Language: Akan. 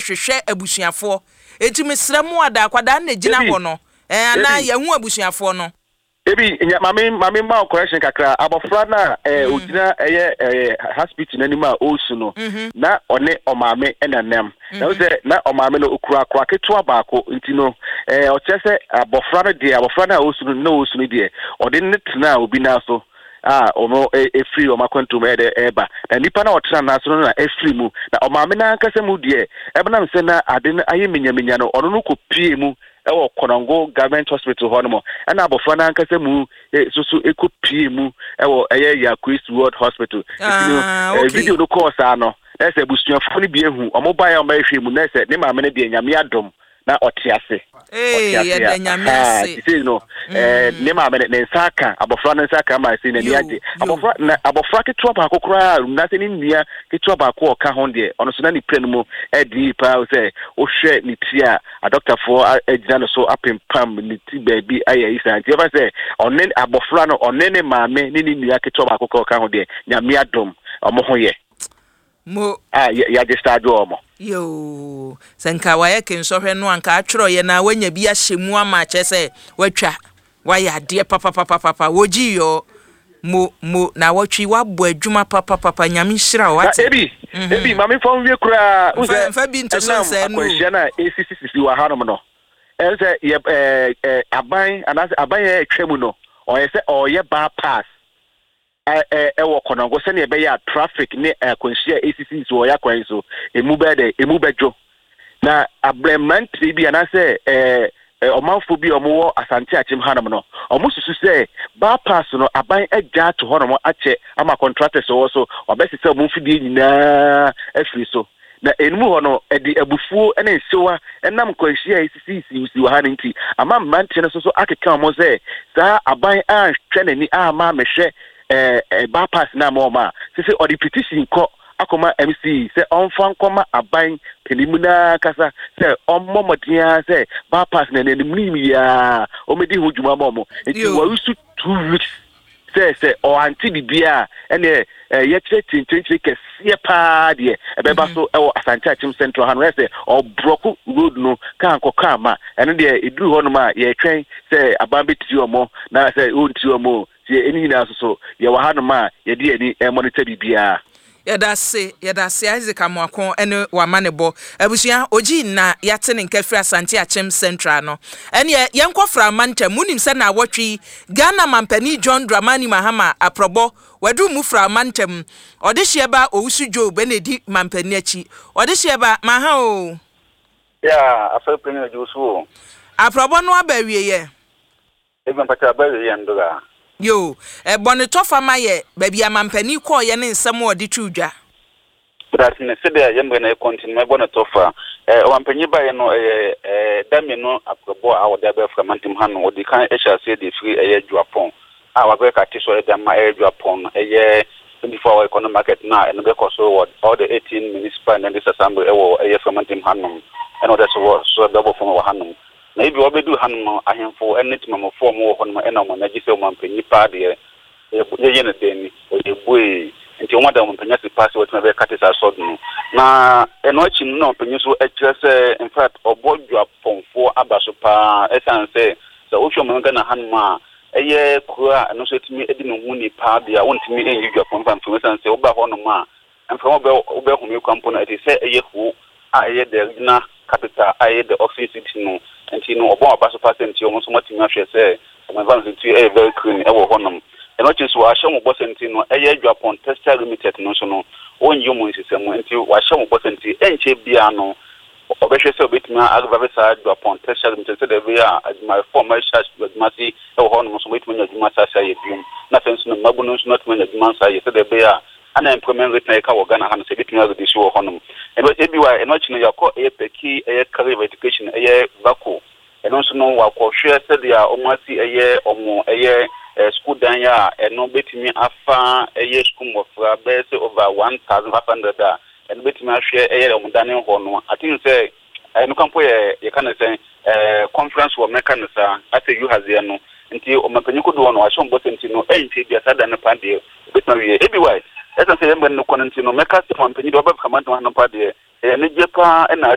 Ɛrehwehwɛ abusuafoɔ. Enti mesrɛ mo ada akwadaa no na ɛgyina Ebi, hɔ no, ɛɛ, anaa ebi. yɛahu abusuafoɔ no? Ebi, nya, maame, maame mma wo correction kakra. Abɔfra no a ɛɛ, ogyina ɛyɛ ɛɛ, hospital n'anim a ɔresu no, na ɔne ɔmaame na nam. Na wo sɛ na ɔmaame no okura akora ketewa baako nti no, ɛɛ, ɔkyerɛ sɛ abɔfra no deɛ, abɔfra no a ɔresu no, na ɔresu no deɛ, ɔde ne tenaa obi nan so a ɔno efiri wɔn akwantu mu ɛyɛ dɛ ɛreba. Na nipa no a ɔtena nan so no na efiri mu. Na ɔmaame no ankasa mu deɛ, ɛbɛnam sɛ na ade no ayɛ minyaminya no, ɔno no kɔpie mu ɛwɔ Konongo Government Hospital hɔ nom, ɛna abɔfra no ankasa mu nso so ɛkɔpie mu ɛwɔ ɛyɛ Yakuis World Hospital. Nti no video no kɔɔ saa no, na sɛ abusuafoɔ no bi ehu ɔmo baeɛ a ɔmo bɛhwɛ mu, na sɛ ne maame no deɛ, Nyame adom na ɔte ase. Ee, Ɔte ase yɛda a Nyame aha ase. ti sei no, ne maame no ne nsa aka abɔfra no nsa aka ama sei n'ani agye. Abɔfra na abɔfra ketewa baako koraa na sɛ ne nua ketewa baako a ɔka ho deɛ, ɔno so na ne pira no mu ɛdi yie paa sɛ wohwɛ ne ti a adɔktafoɔ agyina no so apempam ne ti baabi ayɛ yi saa. Nti ɛfa sɛ ɔne abɔfra no, ɔne ne maame ne ne nua ketewa baako koraa ɔka ho deɛ, Nyame adom, ɔmo ho yɛ Mo. A yɛagye saa adwo ɔmo. Yoo, sɛ nka wayɛ kensɔhwɛ no anka atwerɛeɛ na wanya bi ahyɛ mu ama akyerɛ sɛ watwa, wayɛ adeɛ papapapapa. Wɔgyi yɔ mo mo na wɔtwe wabɔ adwuma papapapa. Nyame nhyira wo Na wate. ebi ebi maame fa nwie koraa n Mfa sɛ mfa bi nto so ɛnam nsɛe no o. akwanhyia no a esisisisi wɔ hanom no, ɛn sɛ yɛ ɛɛ ɛɛ aban anaasɛ aban yɛ ɛtwa mu no, ɔyɛ sɛ ɔyɛ bypass ɛwɔ Kɔnɔngo sɛnea ɛbɛyɛ a traffic ne akwanhyia a esisisi wɔ yɛ akwan yi so emu bɛyɛ dɛ emu bɛdwo. Na abrɛ mmeranteɛ bi anaasɛ ɔmanfoɔ bi a wɔwɔ Asante Akyem hanom no, wɔn susu sɛ bypass no aban agya ato hɔnom akyɛ ama contractors wɔ so wɔabɛsesa wɔn mfidie nyinaa afiri so. Na enum hɔ no, ɛde abufuo ne nsewa ɛnam nkwanhyia a esisisi wɔ ha no nti ama mmeranteɛ no nso so akeka wɔn sɛ saa aban anhwɛ n'ani ama amehwɛ ɛɛ ɛɛ bypass no ama wɔn a sisi ɔde petition kɔ akɔma MC sɛ ɔmfa nkɔma aban panimu naa kasa sɛ ɔmmɔ mmɔden ara sɛ bypass na n'anim nim yia ɔmɛdi ho dwuma ma ɔmo. Nti wɔresu 2 weeks sɛ ɔante biribiara ɛneɛ yɛkyerɛ kyenkyerenkyere kɛseɛ paa deɛ ɛbɛba so ɛwɔ Asante Akyem Central ha no, ɛyɛ sɛ ɔblock road no kaa nkɔ kaa ma. Ɛno deɛ, ɛduru hɔnom a yɛtwɛn sɛ aban bɛtiri ɔmo na sɛ ɔntiri ɔmo sɛ ɛne nyinaa so so yɛwɔ hanom a yɛde yɛni ɛmonitor biribiara. Yɛda ase, yɛda ase, Isaac Amoako ne wama ne bɔ. Abusua, ogyi na yɛate ne nka firi Asante Akyem Central no. Ɛneɛ yɛnkɔ Frama ntam. Wonim sɛ na awɔtwe yi Ghana mampanin John Dramani Mahama aprɔbɔ waduru mu Frama ntam. Ɔde hyeɛ ba Owusu Job ɛna ɛdi mampanin akyi. Ɔde hyeɛ ba maha o. Ya, afɛ panyin adwo so o. Aprɔbɔ no aba awieɛ. Ebi mpata aba awieɛ ndora. Yo, ɛbɔ ne tɔfa ma yɛ baabi a mampanin kɔɔyɛ ne nsɛm a ɔde too dwa. But ne sɛdeɛ yɛ mmerɛ na ɛkɔ nti no, mɛbɔ ne tɔfa. Ɔmampanyin baeɛ no, ɛyɛ da 2 aprɔbɔ a wɔde abɛfra mantam ha no. Wɔde kan hyɛ aseɛ de firi ɛyɛ Juapɔn a wabɛyɛ kate so ɛde ama ɛyɛ Juapɔn no, ɛyɛ 24 hour economic market no a ɛno bɛkɔ so wɔ all the 18 municipal and district assembly ɛwɔ ɛyɛ fra mantam hanom, ɛna wɔde so wɔ so ɛbɛbɔ fam wɔ hanom. Na ebi wɔbɛduru hanom no, ahemfo ne temamufoɔ a wɔwɔ hɔnom ɛna wɔn ani agye sɛ ɔmampanyin paa deɛ yɛyɛ no dɛn ni ɔyɛ buee, nti wɔn ada ɔmampanyin ase paa sɛ wɔatumi abɛyɛ kate saa sɔd no. Na ɛno akyi no, na ɔmampanyin nso kyerɛ sɛ in fact ɔbɔ Dwapɔnfoɔ aba so paa, ɛsiane sɛ wohwɛ ɔman Ghana hanom a, ɛyɛ kuro a ɛno nso atumi di ne ho ni paa deɛ a wontumi nyi Dwapɔn mfa mfiri mu, ɛsiane sɛ woba hɔnom a, mframa wobɛhome kwan mpo no ɛte sɛ ɛyɛ ho a ɛyɛ the regional capital a ɛyɛ the oxygen city no. Nti no ɔbɔn aba so paa sɛ nti wɔn nso wɔatumi ahwɛ sɛ wɔn environment nti ɛyɛ very clean ɛwɔ hɔnom. Ɛno akyi nso, wɔahyɛ wɔn bɔ sɛ nti no ɛyɛ Dwapɔn Textile Limited no nso no, wɔnyi wɔn nsesɛmu, nti wɔahyɛ wɔn bɔ sɛ nti ɛnkyɛ biara no ɔbɛhwɛ sɛ ɔbɛtumi arevive saa Dwapɔn Textile Limited sɛdeɛ ɛbɛyɛ a adwumayɛfoɔ a wɔahyɛ adwuma ase ɛwɔ hɔnom nso wɔbɛtumi anya adwuma saa ayɛ biom, na afei nso no mmabunu nso no atumi anya adwuma nso ayɛ sɛdeɛ ɛbɛyɛ a unemployment rate na yɛka wɔ Ghana ha no sɛ ebɛtumi areduce wɔ hɔnom. Ɛno ebi wa ɛno akyi no, yɛakɔ ɛyɛ Peki ɛyɛ College of Education, ɛyɛ VACO. Ɛno nso no wakɔhwɛ sɛdeɛ wɔn asi ɛyɛ wɔn ɛyɛ school dan a ɛno bɛtumi afa ɛyɛ school mmɔfra bɛyɛ sɛ over 1,500 a ɛno bɛtumi ahwɛ ɛyɛ wɔn dan hɔ no. I think sɛ ɛno kampo yɛ yɛka no sɛ conference wɔ mɛka no saa asɛ yuhazeɛ no. Nti ɔmapanyin kodoɔ no wahyɛ wɔn bɔ sɛ nti no ɛnkyɛ bi saa dan no pa deɛ obɛtumi awie. Ebi wa ɛsan sɛ yɛn mmerɛ no kɔ no nti no, mɛka sɛ ɔmapanyin deɛ ɔbɛka mantam ha no pa deɛ ɛyɛ anigye paa ɛna